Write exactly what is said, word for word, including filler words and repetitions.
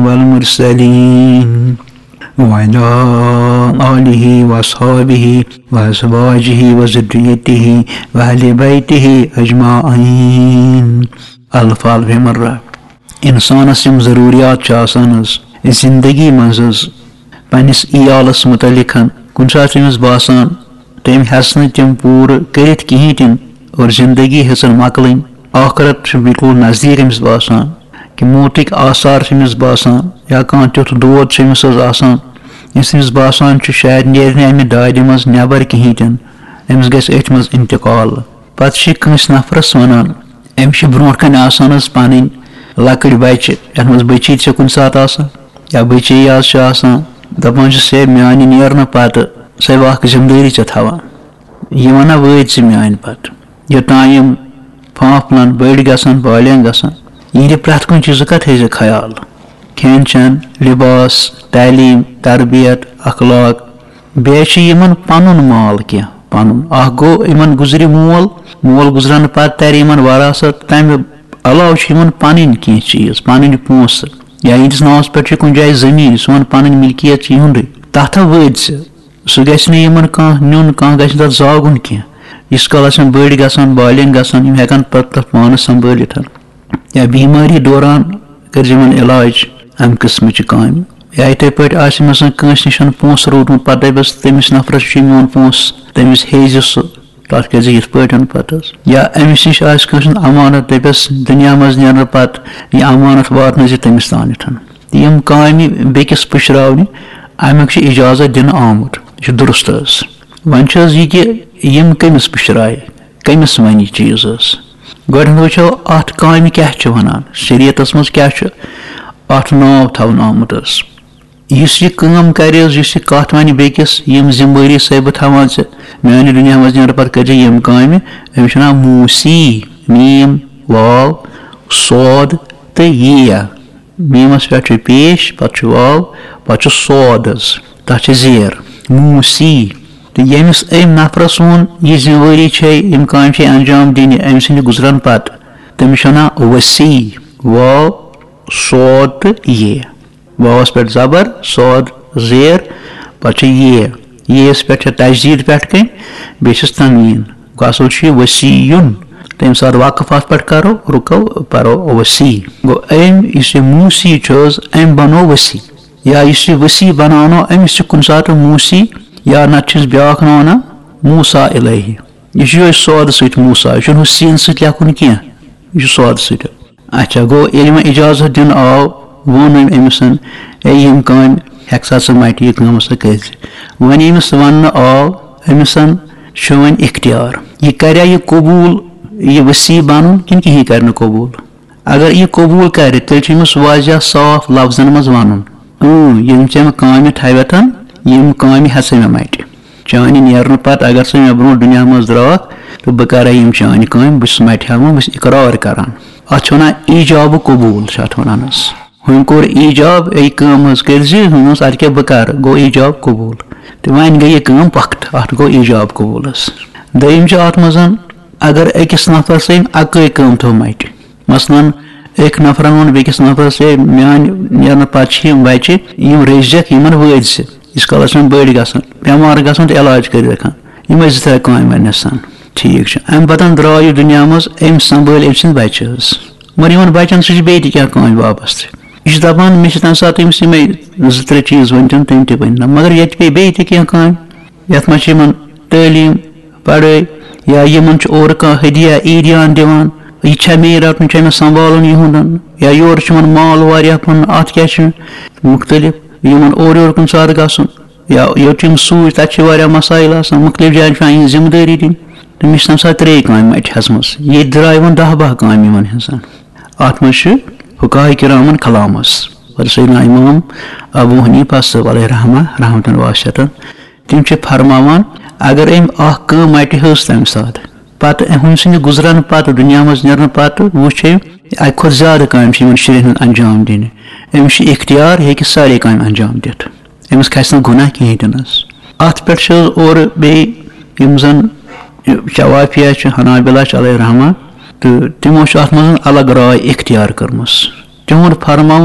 والمرسلين وعلى آله وأصحابه وأزواجه وذريته وأهل بيته أجمعين. الف الف مرہ۔ انسانس یِم ضروریات چھِ آسان حظ زندگی منٛز حظ، پننِس عیالس متعلق، کُنہِ ساتہٕ چھِ أمِس باسان تٔمۍ ہٮ۪ژ نہٕ تِم پوٗرٕ کٔرِتھ کِہیٖنۍ تہِ نہٕ، اور زندگی ہیٚژٕن مۄکلٕنۍ، ٲخرت چھُ بالکل نزدیٖک أمِس باسان، کہِ موتٕکۍ آثار چھِ أمِس باسان، یا کانٛہہ تیُتھ دود چھُ أمِس حظ آسان، یُس أمِس باسان چھُ شاید نیرِ نہٕ اَمہِ دادِ منٛز نٮ۪بر کِہیٖنۍ تہِ نہٕ، أمِس گژھِ أتھۍ منٛز انتقال۔ پتہٕ چھِ کٲنٛسہِ نفرس ونان، أمِس چھِ برونٛٹھ کنہِ آسان حظ پنٕنۍ لۄکٕٹۍ بچہِ، یتھ منٛز بچی تہِ چھِ کُنہِ ساتہٕ آسان، یا بچی یہِ حظ چھِ آسان، دپان چھِس، ہے، میانہِ نیرنہٕ پتہٕ سۄ اکھ ذمہٕ دٲری ژےٚ تھاوان۔ یہِ ونان، وٲتۍ ژٕ میانہِ پتہٕ۔ یوٚتام یِم پھانٛپھ پھۄلان، بٔڑۍ گژھان، بالینغ گژھان، یِہنٛدِ پرٛٮ۪تھ کُنہِ چیٖزُک کتھ تھٲیزِ خیال۔ کھٮ۪ن چٮ۪ن، لباس، تعلیٖم، تربیت، اخلاق، بیٚیہِ چھُ یِمن پنُن مال کینٛہہ، پنُن۔ اکھ گوٚو، یِمن گُزرِ مول، مول گُزرنہٕ پتہٕ ترِ یِمن وراثت، تمہِ علاوٕ چھِ یِمن پنٕنۍ کینٛہہ چیٖز، پنٕنۍ پونٛسہٕ، یا یِہنٛدِس ناوس پٮ۪ٹھ چھِ کُنہِ جایہِ زٔمیٖن، سون پنٕنۍ ملکیت چھِ یِہُنٛدُے۔ تتھ ہا وٲتۍ زِ، سُہ گژھِ نہٕ یِمن کانٛہہ نیُن، کانٛہہ گژھِ نہٕ تتھ زاگُن کینٛہہ۔ ییٖتِس کالس یِم بٔڑۍ گژھن، بالینغ گژھن، یِم ہٮ۪کن پتہٕ تتھ پانس سنبھٲلِتھ۔ یا بیمٲری دوران کٔرۍ زِ یِمن علاج امہِ قٕسمٕچہِ کامہِ۔ یا یِتھے پٲٹھۍ آسہِ مثلاً کٲنٛسہِ نِش پونٛسہٕ روٗدمُت، پتہٕ دپٮ۪س تٔمِس نفرس چھُ میون پونٛسہٕ، تٔمِس ہیٚیہِ زِ سُہ، تتھ کٔرۍ زِ یِتھ پٲٹھۍ پتہٕ حظ۔ یا أمِس نِش آسہِ کٲنٛسہِ ہُنٛد امانت، دپٮ۪س دُنیا منٛز نیرنہٕ پتہٕ یہِ امانت واتنٲوۍ زِ تٔمِس تانٮ۪تھ۔ یِم کامہِ بیٚکِس پُشراونہِ، امیُک چھُ اجازت دِنہٕ آمُت، یہِ چھُ درست حظ۔ وۄنۍ چھُ حظ یہِ کہِ یِم کٔمِس پُشرایہِ، کٔمِس ونہِ یہِ چیٖز حظ؟ گۄڈٕنٮ۪تھ وٕچھو، اتھ کامہِ کیٛاہ چھِ ونان، شریعتس منٛز کیٛاہ چھُ اتھ ناو تھاونہٕ آمُت حظ؟ یُس یہِ کٲم کرِ حظ، یُس یہِ کتھ ونہِ بیٚکِس، یِم ذمہٕ وٲری سۭتۍ بہٕ تھاوان ژےٚ، میانہِ دُنیا منٛز نیرٕ پتہٕ کٔرۍ زِ یِم کامہِ، أمِس چھُ ناو موسی، میٖم، واو، صاد تہٕ یے۔ میٖمس پٮ۪ٹھ چھُ پیش، پتہٕ چھُ واو، پتہٕ چھُ صاد حظ، تتھ چھِ زیر، موسی۔ تہٕ ییٚمِس أمۍ نفرس ووٚن، یہِ ذمہٕ وٲری چھے، یِم کامہِ چھے انجام دِنہِ أمۍ سٕنٛدِ گُزرن پتہٕ، تٔمِس چھُ ونان وسی، واو، صاد تہٕ یے۔ واوس پٮ۪ٹھ زبر، صاد زیر، پتہٕ چھُ یے۔ یے یس پٮ۪ٹھ چھےٚ تشدید پٮ۪ٹھ کَنۍ، بیٚیہِ چھِس تنویٖن۔ گوٚو اصل چھُ یہِ وسیٖیُن۔ تَمہِ ساتہٕ وقف اتھ پٮ۪ٹھ کرو، رُکو، پرو وسی۔ گوٚو أمۍ یُس یہِ موسی چھُ حظ، أمۍ بنوو وسی۔ یا یُس یہِ وسی بناونو، أمِس چھُ کُنہِ ساتہٕ موسی، یا نتہٕ چھِس بیٛاکھ ناو ونان موسیٰ الیہ۔ یہِ چھُ یِہوٚے صاد سۭتۍ موسیٰ، یہِ چھُنہٕ ہُہ سیٖن سۭتۍ لیکھُن کینٛہہ، یہِ چھُ صاد سۭتۍ۔ اچھا، گوٚو ییٚلہِ وۄنۍ اجازت دِنہٕ آو، ووٚن أمۍ أمِس، "اے، یِم کامہِ ہٮ۪کھ سا ژٕ مٹہِ، یہِ کٲم ہسا کٔرۍ زِ۔" وۄنۍ ییٚمِس وننہٕ آو، أمِس چھُ وۄنۍ اختیار، یہِ کریا یہِ قبوٗل، یہِ وسی بنُن، کِنہٕ کِہیٖنۍ کرِ نہٕ قبوٗل۔ اگر یہِ قبوٗل کرِ، تیٚلہِ چھُ أمِس واضح صاف لفظن منٛز ونُن، "اۭں، یِم ژےٚ مےٚ کامہِ تھاوٮ۪تھ، یِم کامہِ ہٮ۪ژے مےٚ مٹہِ۔" چانہِ نیرنہٕ پتہٕ اگر ژٕ مےٚ برونٛٹھ دُنیا منٛز درٛاکھ تہٕ بہٕ کرے یِم چانہِ کامہِ، بہٕ چھُس مٹہِ ہٮ۪وان، بہٕ چھُس اقرار کران۔ اتھ چھِ ونان ایجاب قبوٗل، چھِ اتھ ونان حظ۔ ہُمۍ کوٚر ایجاب، یہِ کٲم حظ کٔرۍ زِ، ہُمۍ اوس اتہِ کیٛاہ بہٕ کرٕ، گوٚو ایجاب قبوٗل۔ تہٕ وۄنۍ گٔے یہِ کٲم پۄختہٕ، اتھ گوٚو ایجاب قبوٗل حظ۔ دوٚیِم چھِ اتھ منٛز، اگر أکِس نفرس أمۍ اکٲے کٲم تھٲو مٹہِ، مثلاً، أکۍ نفرن ووٚن بیٚکِس نفرس، "ہے، میانہِ نیرنہٕ پتہٕ چھِ یِم بچہِ، یِم رٔچھزٮ۪کھ، یِمن وٲتۍ زِ، ییٖتِس کالس یِم بٔڑۍ گژھن، بٮ۪مار گژھن تہٕ علاج کٔرِتھ ہٮ۪کن، یِمے زٕ ترٛےٚ کامہِ ونہِ سن۔" ٹھیٖک چھُ۔ امہِ پتن درٛاو یہِ دُنیا منٛز، أمۍ سنبھٲلۍ أمۍ سٕنٛدۍ بچہِ حظ۔ مگر یِمن بچن سۭتۍ چھِ بیٚیہِ تہِ کینٛہہ کامہِ وابستہٕ۔ یہِ چھُ دپان، مےٚ چھِ تمہِ ساتہٕ أمِس یِمے زٕ ترٛےٚ چیٖز ؤنۍ تِم، تِم تہِ ؤنۍ نہ، مگر ییٚتہِ پیٚیہِ بیٚیہِ تہِ کینٛہہ کامہِ۔ یَتھ منٛز چھِ یِمَن تعلیٖم، پڑھٲے، یا یِمَن چھُ اورٕ کانٛہہ ہدیہ، عیٖدیان دِوان، یہِ چھا مےٚ رَٹُن، چھا مےٚ سنبھالُن یِہُنٛد، یا یورٕ چھُ یِمَن مال واریاہ کٕنُن، اَتھ کیٛاہ چھُ مُختٔلِف، یِمَن اورٕ یورٕ کُنہِ ساتہٕ گژھُن، یا یوٚت چھِ یِم سوٗزۍ، تَتہِ چھِ واریاہ مسائل آسان، مُختٔلِف جایَن چھِ پٮ۪وان یِہِنٛز ذمہٕ دٲری دِنۍ۔ تہٕ مےٚ چھِ تَمہِ ساتہٕ ترٛے کامہِ اَتہِ ہٮ۪ژمٕژ، ییٚتہِ درٛاے وۄنۍ دَہ باہ کامہِ یِمَن ہٕنٛز۔ اَتھ منٛز چھِ فقہاء کرامَن کلامَس، پتہٕ سیدنا امام ابو حنیفہ صٲب علیہ رحمہ، رحمتن واسعتن، تِم چھِ فرماوان، اگر أمۍ اکھ کٲم مٹہِ ہٕنٛز تَمہِ ساتہٕ، پتہٕ أمۍ سٕنٛدِ گُزرن پتہٕ، دُنیا منٛز نیرنہٕ پتہٕ وُچھ أمۍ، اَکہِ کھۄتہٕ زیادٕ کامہِ چھِ یِمن شُرٮ۪ن ہٕنٛز انجام دِنہِ۔ أمِس چھُ اختیار، یہِ ہیٚکہِ سارے کامہِ انجام دِتھ۔ أمِس کھسہِ نہٕ گۄناہ کِہیٖنۍ تہِ نہٕ حظ۔ اَتھ پٮ۪ٹھ چھِ حظ اورٕ بیٚیہِ یِم زَن شوافیہ چھِ، حنابلہ چھِ علیہ رحمہ، تہٕ تِمو چھِ اَتھ منٛز الگ راے اختیار کٔرمٕژ۔ تِہُنٛد فرماوُن